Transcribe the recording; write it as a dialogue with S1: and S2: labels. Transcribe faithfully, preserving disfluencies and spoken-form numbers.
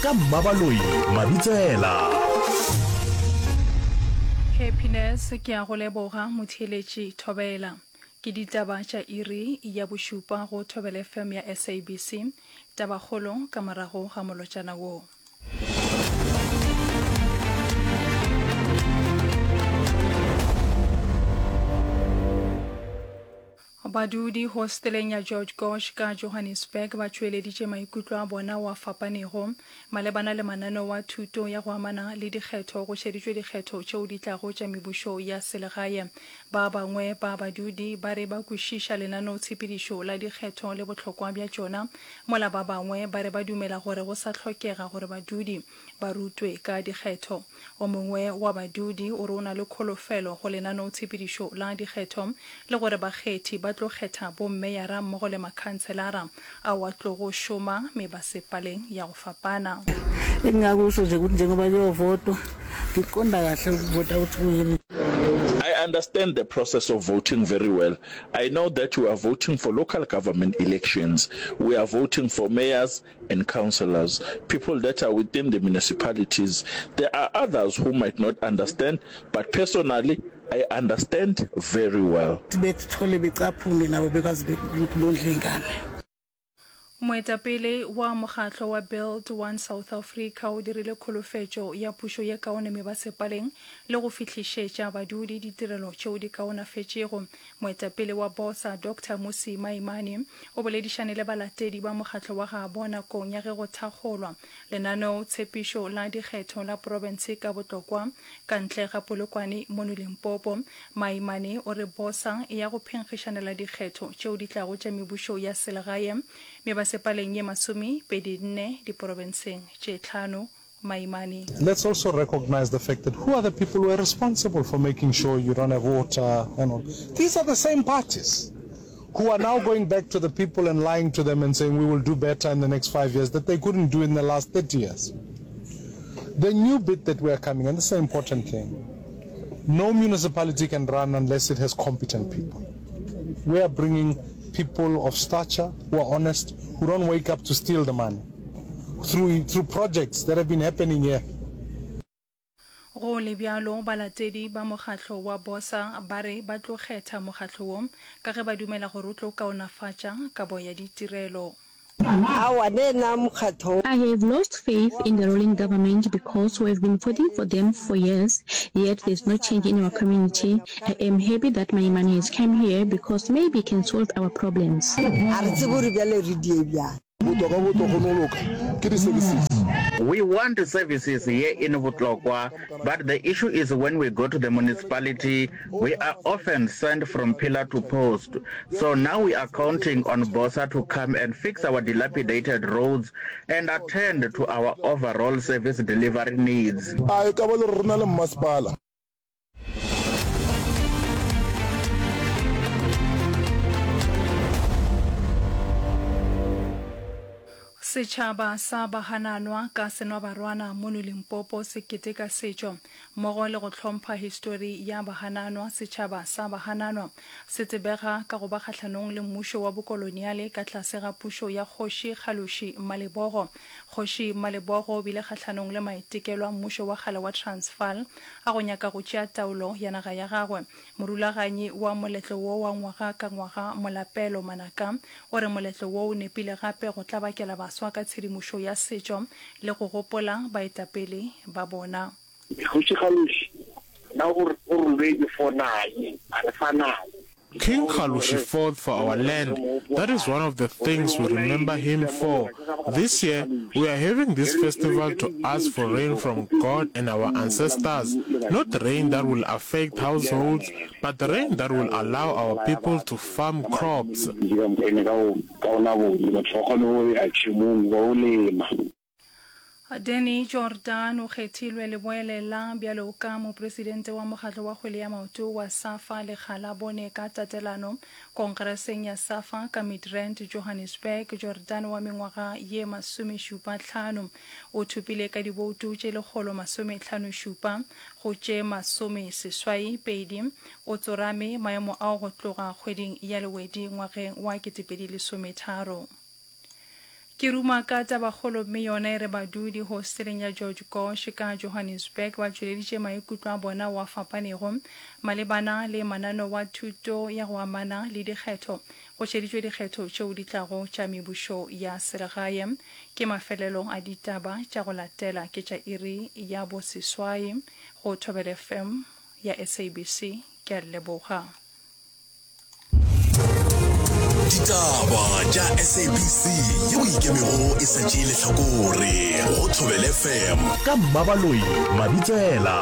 S1: ka Mmabaloi Mabitsela.
S2: Happiness ke a go leboga motheeletši Thobela. Ke ditaba tša iri ya bošupa go Thobela F M ya S A B C. Tabakgolo ka morago ga molotšana wo. Badudi hosteleng ya George Gosh ka Johannesburg ba tšweleditše maikutlo a bona wa fapanego malebana le mananeo a thuto ya go amana le dikgetho go šeditšwe dikgetho tšeo di tlago tša mebušo ya selegae. Ba bangwe ba badudi ba re ba kwešiša lenaneotshepedišo la dikgetho le bohlokwa bja tšona, mola ba bangwe ba re ba dumela gore go sa hlokega gore badudi ba rutwe ka dikgetho. O mongwe wa badudi o re o na le kholofelo go lenaneotshepedišo la dikgetho le gore bakgethi ba tlo kgetha bommeyara mmogo le makhanselara ao a tlogo šoma mebasepaleng ya go fapana.
S3: Engingakusho nje ukuthi njengoba kuyovotwa ngiqonda kahle ukuvota ukuthi kuyini.
S4: I understand the process of voting very well. I know that we are voting for local government elections. We are voting for mayors and councillors, people that are within the municipalities. There are others who might not understand, but personally, I understand very well.
S3: Bethole becaphune nabo bekwazi ukuthi bondle ingane.
S2: Moetapele wa mokgatlo wa Build One South Africa o dirile kholofetšo ya pušo ye kaone mebasepaleng le go fihlišetša badudi ditirelo tšeo di kaonafetšego. Moetapele wa BOSA Doctor Mmusi Maimane o boledišane le balatedi ba mokgatlo wa gabo nakong ya ge go thakgolwa lenaneo tshepišo la dikgetho la profense ka Botlokwa ka ntle ga Polokwane mono Limpopo. Maimane o re BOSA e ya go phenkgišanela dikgetho tšeo di tlago tša mebušo ya selegae mebasepaleng ye masomepedi nne diprofenseng tše tlhano. Maimane.
S5: Let's also recognize the fact that who are the people who are responsible for making sure you don't have water and all. These are the same parties who are now going back to the people and lying to them and saying we will do better in the next five years that they couldn't do in the last thirty years. The new bit that we are coming, and this is an important thing, no municipality can run unless it has competent people. We are bringing people of stature who are honest, who don't wake up to steal the money through, through projects that have been happening here.
S2: Go le bjalo, balatedi ba mokgatlo wa BOSA ba re ba tlo kgetha mokgatlo wo ka ge ba dumela gore o tlo kaonafatša kabo ya ditirelo.
S6: Aowa, le na mokgatho.
S7: I have lost faith in the ruling government because we have been voting for them for years, yet there's no change in our community. I am happy that Maimane has come here because maybe he can solve our problems.
S6: A re tsebe gore bjale re die bjang.
S8: Botoka bo tlo kgone go loka ke di services.
S9: We want services here in Botlokwa, but the issue is when we go to the municipality, we are often sent from pillar to post. So now we are counting on BOSA to come and fix our dilapidated roads and attend to our overall service delivery needs.
S8: A e ka ba le gore re na le mmasepala?
S2: Setšhaba sa Bahananwa ka Senwabarwana mono Limpopo se keteka setšo mmogo le go hlompha histori ya Bahananwa. Setšhaba sa Bahananwa se tsebega ka go ba kgahlanong le mmušo wa bokoloniale ka tlase ga pušo ya Kgoši Kgaloši Malebogo. Kgoši Malebogo o bile kgahlanong le maitekelo a mmušo wa kgale wa Transvaal a go nyaka go tšea taolo ya naga ya gagwe. Morulaganyi wa moletlo wo wa ngwaga ka ngwaga, Molapelo Manaka, o re moletlo wo o nepile gape go tlabakela baswa ka tshedimošo ya setšo le go gopola baetapele ba bona.
S10: Kgoši Kgaluši na o robetše fo naye, a re fa naye.
S11: King Kgalushi fought for our land. That is one of the things we remember him for. This year, we are having this festival to ask for rain from God and our ancestors. Not rain that will affect households, but rain that will allow our people to farm crops.
S2: Danny Jordaan o kgethilwe leboelela bjalo ka mopresidente wa mokgatlo wa kgwele ya maoto wa SAFA lekga la bone ka tatelano Konkreseng ya SAFA ka Midrand, Johannesburg. Jordaan wa mengwaga ye masomešupa hlano o thopile ka diboutu tše lekgolo masomehlano šupa go tše masomeseswai pedi. O tsorame maemo ao go tloga kgweding ya Lewedi ngwageng wa ketepedi lesometharo. Ke ruma ka tabakgolo mme yona e re badudi hosteleng ya George Gosh ka Johannesburg ba tšweleditše maikutlo a bona ao a fapanego malebana le mananeo a thuto ya go amana le dikgetho go šeditšwe dikgetho tšeo di tlago tša mebušo ya selegae. Ke mafelelo a ditaba tša go latela ke tša iri ya bo seswai go Thobela F M ya S A B C. Ke a le leboga.
S1: Ditaba tša S A B C yeo e ikemego e sa tšee lehlakore go Thobela F M ka Mmabaloi Mabitsela.